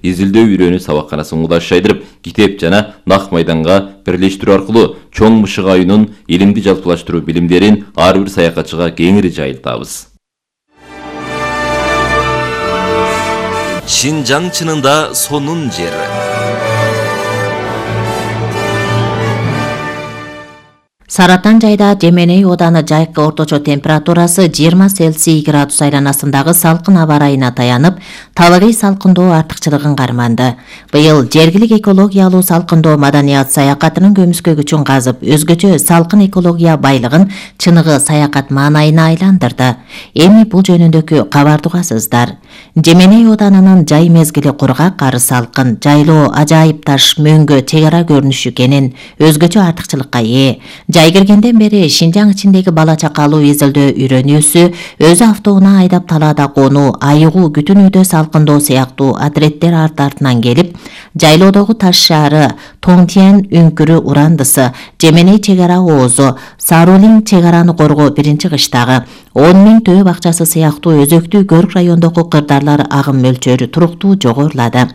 изилдөө үйрөнүү сабакканасын кудаш жайдырып, китеп жана нак майданга бирлештирүү аркылуу чоң мышык айынын илимди жалпылаштыруу билимдерин ар бир саякатчыга кеңири жайылтабыз. Шинжаң чынында сонун жер. Саратан жайда Жеменей ооданы жайкы орточо температурасы 20 Цельсий градус айланасындагы салкын аба ырайына таянып, табигый салкындоо артыкчылыгын карманды. Быйыл жергилик экологиялуу салкындоо маданият саякатынын көмүскө күчүн казып, өзгөчө салкын экология байлыгын чыныгы саякат маанайына айландырды. Эми бул жөнүндөгү кабарды угасыздар. Жеменей оодарынын жай мезгили кургак, ары салкын, жайлоо ажайып таш, мөңгө, чек ара көрүнүшү кенен өзгөчө артыкчылыкка ээ. Жай киргенден бери Шинжаң ичиндеги бала чакалуу изилдөө үйрөнүүсү, өзү автоунаа айдап талаада конуу, айыгуу, күтүнүүдө салкындоо сыяктуу адиреттер арт-артынан келип, жайлоодогу Таш шаары, Тоңтиен үңкүрү урандысы, Жеменей чек ара оозу, Сарулин чек араны коргоо биринчи кыштагы, 10 000 төө бакчасы сыяктуу өзөктүү Көрк райондогу кырдаарлар агым мөлчөрү туруктуу жогорулады.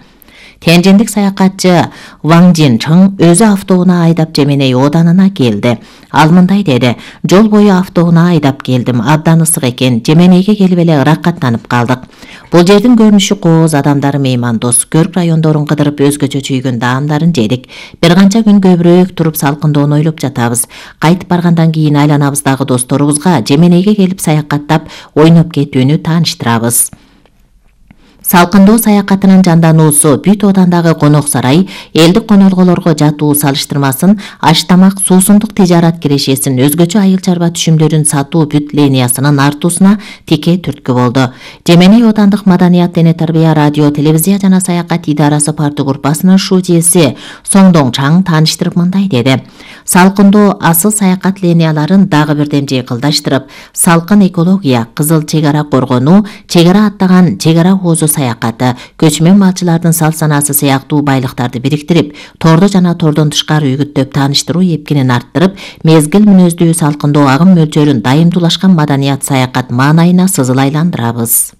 Тяньжиндик саякатчы Ваң Жинчың өзү автоунаа айдап Жеменей ооданына келди. Ал мындай деди: "Жол бою автоунаа айдап келдим, абдан ысык экен. Жеменейге келип эле ыракаттанып калдык. Бул жердин көрүнүшү кооз, адамдары меймандос. Көрк райондорун кыдырып өзгөчө чүйгөн даамдарын жедик. Бир канча күн көбүрөөк туруп салкындоону ойлоп жатабыз. Кайтып баргандан кийин айланабыздагы досторубузга Жеменейге келип саякаттап, ойноп кетүүнү тааныштырабыз." Салкындоо саякатынын жандануусу бүт оодандагы конок сарай, элдик конолголорго жатуу салыштырмасын, аш-тамак, суусундук тижарат кирешесин, өзгөчө айыл чарба түшүмдөрүн сатуу бүт линиясынын артуусуна тике түрткү болду. Жеменей оодандык маданият, дене тарбия, радио, телевизия жана саякат идарасы парты группасынын шужеси Соңдоң Чаң тааныштырып мындай деди: "Салкындоо асыл саякат линияларын дагы бирден жыйкылдаштырып, салкын экология, кызыл чек ара коргонуу, чек ара аттаган чек ара оозу саякаты, көчмөн малчылардын сал-санаасы сыяктуу байлыктарды бириктирип, тордо жана тордон тышкары үгүттөп тааныштыруу эпкинин арттырып, мезгил мүнөздүү салкындоо агым мөлчөрүн дайымдуулашкан маданият саякат маанайына сызыл айландырабыз."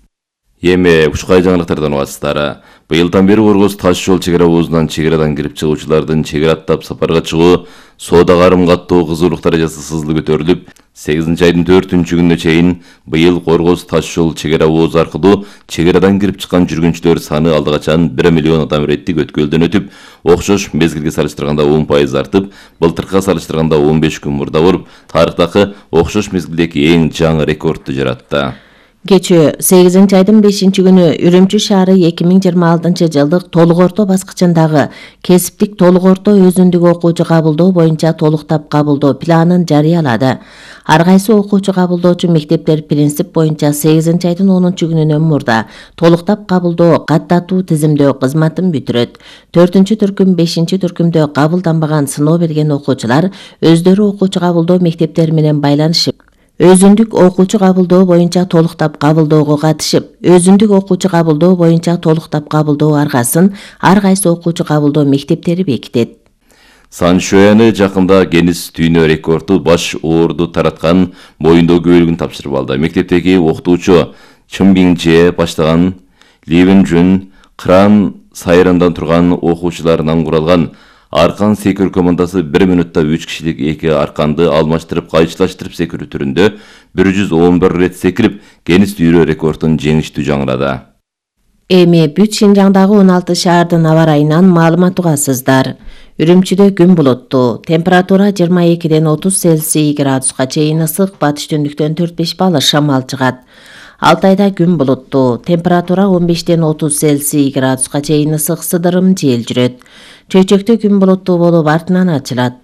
Эми ушкай жаңылыктардан угасыздар. Быйылдан бери Оргоз таш жол чек ара оозунан чек арадан кирип чыгуучулардын чек ара аттап сапарга чыгуу, соода карым каттоо кызуулук даражасы сызылы көтөрүлүп, 8 айдын 4-күнүнө чейин быйыл Оргоз таш жол чек ара оозу аркылуу чек арадан кирип чыккан жүргүнчүлөр саны алды качан 1 миллион адам иреттик өткөлдөн өтүп, окшош мезгилге салыштырганда 10% артып, былтыркыга салыштырганда 15 күн мурда болуп, тарыхтагы окшош мезгилдеги эң жаңы рекордду жаратты. Кечээ 8 айдын 5-күнү Үрүмчү шаары 2026 жылдык толук орто баскычындагы кесиптик толук орто өзүндүк окуучу кабылдоо боюнча толуктап кабылдоо планын жарыялады. Ар кайсы окуучу кабылдоочу мектептер принцип боюнча 8 айдын 10-күнүнөн мурда толуктап кабылдоо каттатуу тизимдөө кызматын бүтүрөт. 4-түркүм, 5-түркүмдө кабылданбаган сыноо берген окуучулар өздөрү окуучу кабылдоо мектептери менен байланышып, өзүндүк окуучу кабылдоо боюнча толуктап кабылдоого катышып, өзүндүк окуучу кабылдоо боюнча толуктап кабылдоо аргасын ар кайсы окуучу кабылдоо мектептери бекитет. Саншояны жакында Генис дүйнө рекорду баш оорду тараткан моюндоо көбөлүгүн тапшырып алды. Мектептеги окутуучу Чымбиңже баштаган Ливен Жүн кран сайрандан турган окуучуларынан куралган аркан секирүү командасы 1 минутта 3 кишилик 2 арканды алмаштырып кайчылаштырып секирүү түрүндө 111 рет секирип, Генис дүйнө рекордун жеңиштүү жаңырады. Эми бүт Шинжаңдагы 16 шаардын аба ырайынан маалымат угасыздар. Үрүмчүдө күн булуттуу, температура 22-ден 30 Цельсий градуска чейин ысык, батыш түндүктөн 4-5 балл шамал чыгат. Алтайда күн булуттуу, температура 15-ден 30 Цельсий градуска чейин ысык, сыдырым жел жүрөт. Чөйчөктө күн булуттуу болуп артынан ачылат.